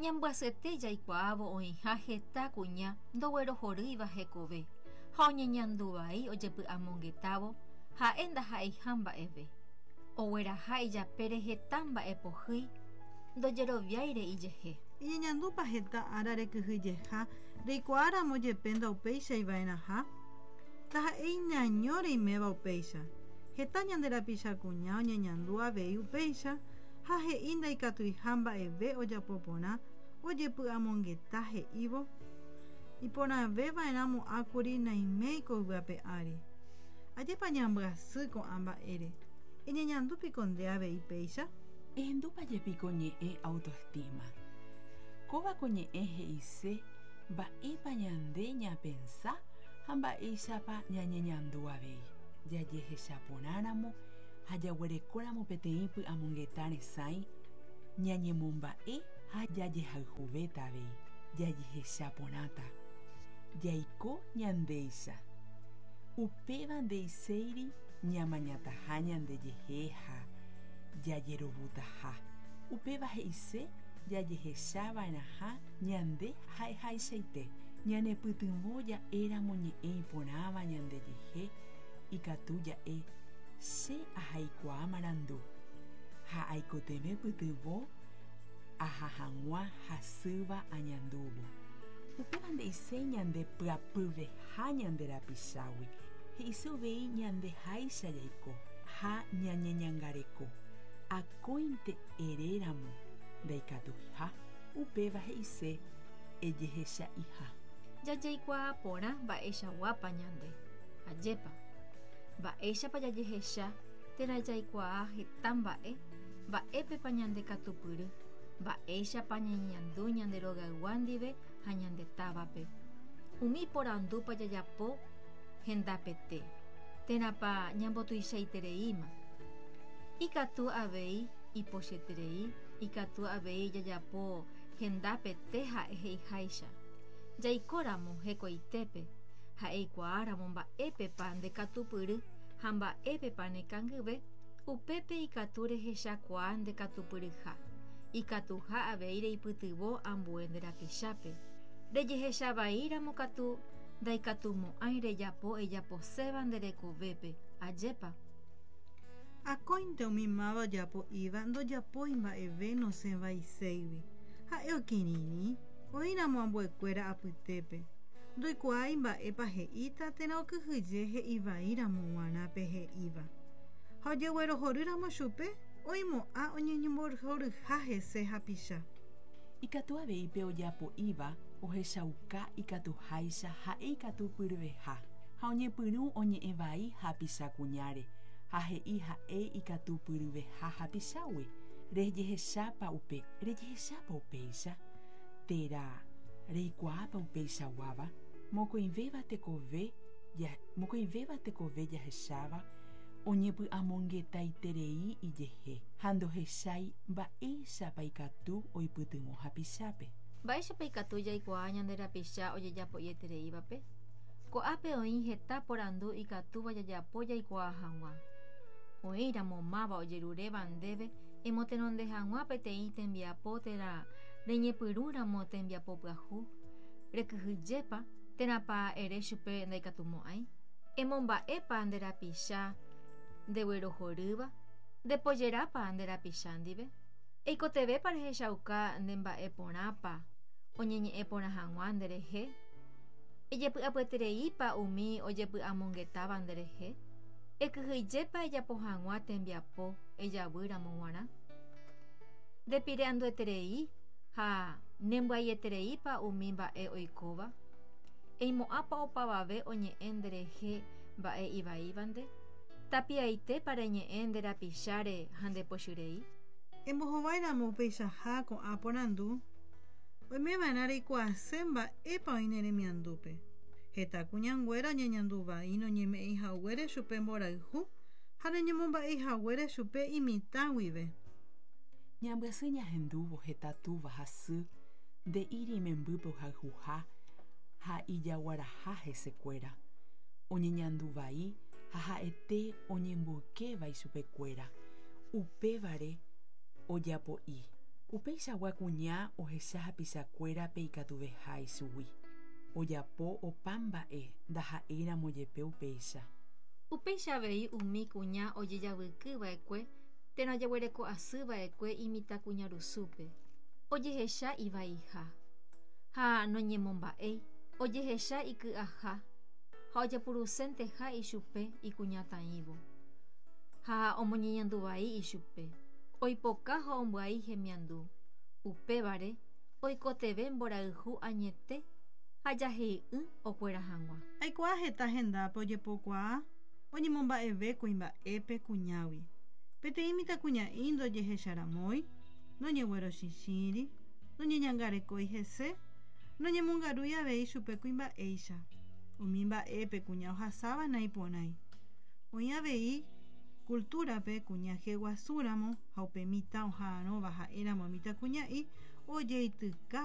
Ñambyasyete jaikuaávo oĩha heta kuña ndoguerohorýiva hekove ha oñeñandu vai ojepy'amongetávo ha'e ndaha'eiha mba'eve. Ogueraha ijapére heta mba'e pohýi ndojeroviáire ijehe. Eñeñandúpa heta ára rekyhyjeha reikuaáramo jepe ndaupéichai va'erãha? Ndaha'éi neaño reiméva upéicha. Heta ñande rapicha kuña oñeñandu avei upéicha ha he'i ndaikatuiha mba'eve ojapo porã ojepy'amongeta he'ívo, Iporãve va'erãmo'ãkuri naiméi ko yvy ape ári. Ajépa ñambyasy ko'ã mba'ére. Eñeñandu piko nde avei péicha? Ehendúpa jepi ko ñe'ẽ autoestima. Kóva ko ñe'ẽ he'ise mba'épa ñande ñapensa ha mba'éichapa ñañeñandu avei. Jajehecha porãramo ha jaguerekóramo peteĩ py'amongeta resãi, ñañemomba'e ha jajehayhuvéta avei, jajehecha porãta. Jaiko ñandéicha. Upéva nde'iséiri ñamañataha ñandejehe ha jajerovutaha. Upéva he'ise jajehecha va'erãha ñande ha'ehaichaite. Ñanepytyvõ ja'éramo ñe'ẽ iporãva ñandejehe ikatu ja'e che ahaikuaa marandu ha aikotevẽ pytyvõ aha hag̃ua hasýva añandúvo. Upéva nde'iséi ñande pyapyveha ñande rapichágui, he'ise uvei ñandeháicha jaiko ha ñañeñangareko. Akóinte eréramo ndaikatuiha, upéva he'ise ejehecha'iha. Jajeikuaa porã mba'eichaguápa ñande. Ajépa. Mba'éichapa jajehecha térã jaikuaa heta mba'e? Mba'épepa ñande katupyry? Mba'éichapa ñañeñandu ñande rogaygua ndive ha ñande távape? Umi porandúpa jajapo hendapete, térãpa ñambotuichaitereíma? Ikatu avei ipochyeterei, ikatu avei jajapo hendapete ha'e he'iháicha. Jaikóramo hekoitépe ha eikuaáramo mba'épepa nde katupyry ha mba'épepa ne kangyve, upépe ikatu rehechakuaa nde katupyryha, ikatuha avei reipytyvõ ambue nde rapichápe. Rejehecha vaíramo katu ndaikatumo'ãi rejapo ejaposéva nde rekovépe, ajépa? Akóinte umi máva ojapo'íva ndojapói mba'eve nosẽvaiséigui. Ha'e okirirĩ, oĩramo ambuekuéra apytépe. Ndoikuaái mba'épa he'íta térã okyhyje he'ivaíramo g̃uarã pe he'íva. Ha ojeguerohorýramo chupe, oimo'ã oñeñembohoryha hese hapicha. Ikatu avei pe ojapo'íva ohechauka ikatuháicha ha'e ikatu pyryveha, ha oñepyrũ oñe'ẽ vai hapicha kuñáre ha he'i ha'e ikatupyryveha hapichágui. Rejehechápa upe, rejehechápa upéicha? Térã reikuaápa upeichaguáva? Mokõivéva tekove ja, mokõivéva tekove jahecháva oñepy'amongetaiterei ijehe ha ndohechái mba'éichapa ikatu oipytyvõ hapichápe. Mba'éichapa ikatu jaikuaa ñande rapicha ojejapo'ietereívape? Ko'ápe oĩ heta porandu ikatúva jajapo jaikuaa hag̃ua. Oĩramo máva ojeruréva ndéve emotenonde hag̃ua peteĩ tembiapo térã reñepyrũramo tembiapo pyahu, rekyhyjépa térãpa ere chupe ndaikatumo'ãi? Emomba'épa nde rapicha ndeguerohorýva? Ndepojerápa nde rapicha ndive? Eikotevẽpa rehechauka nde mba'e porãpa oñeñe'ẽ porã hag̃ua nderehe? Ejepy'apyetereípa umi ojepy'amongetáva nderehe? Ekyhyjépa ejapo hag̃ua tembiapo ejavýramo g̃uarã? Ndepire'andueterei ha nembyaietereípa umi mba'e oikóva? Eimo'ãpa opavave oñe'ẽ nderehe mba'e ivaívante? Tapiaitépa reñe'ẽ nde rapicháre ha ndepochyrei? Embohováiramo upeichaha ko'ã porandu, Oimeva'erã reikuaase mba'épa oĩ ne remiandúpe. Heta kuñanguéra oñeñandu vai noñeme'ẽi haguére chupe mborayhu ha noñemomba'éi haguére chupe imitã guive. Ñambyasy ñahendúvo heta túva ha sy nde'íri imembýpe ohayhuha ha ijaguaraha hesekuéra. Oñeñandu vai ha ha'ete oñemboykéva ichupekuéra, upévare ojapo'i. Upeichagua kuña ohecha hapichakuérape ikatuveha ichugui. Ojapo opa mba'e ndaha'éiramo jepe upéicha. Upéicha avei umi kuña ojejavykyva'ekue térã ojeguereko'asyva'ekue imitãkuñarusúpe, ojehecha ivaiha ha noñemomba'éi, ojehecha iky'aha ha ojepurusénteha ichupe ikuñataĩvo ha omoñeñanduvai ichupe, oipoka ha ombyai hemiandu, upévare oikotevẽ mborayhu añete ha jahei'ỹ okuera hag̃ua. Aikuaa heta hendápe ojepokuaa oñemomba'eve kuimba'épe kuñágui. Peteĩ mitãkuña'i ndojehecharamói, noñeguerochichĩri, noñeñangarekói hese, noñemongarúi avei chupe kuimba'éicha. Umi mba'épe kuña ohasáva naiporãi. Oĩ avei cultura-pe kuña hyeguasúramo ha upe mitã oha'arõva ha'éramo mitãkuña'i ojeityka.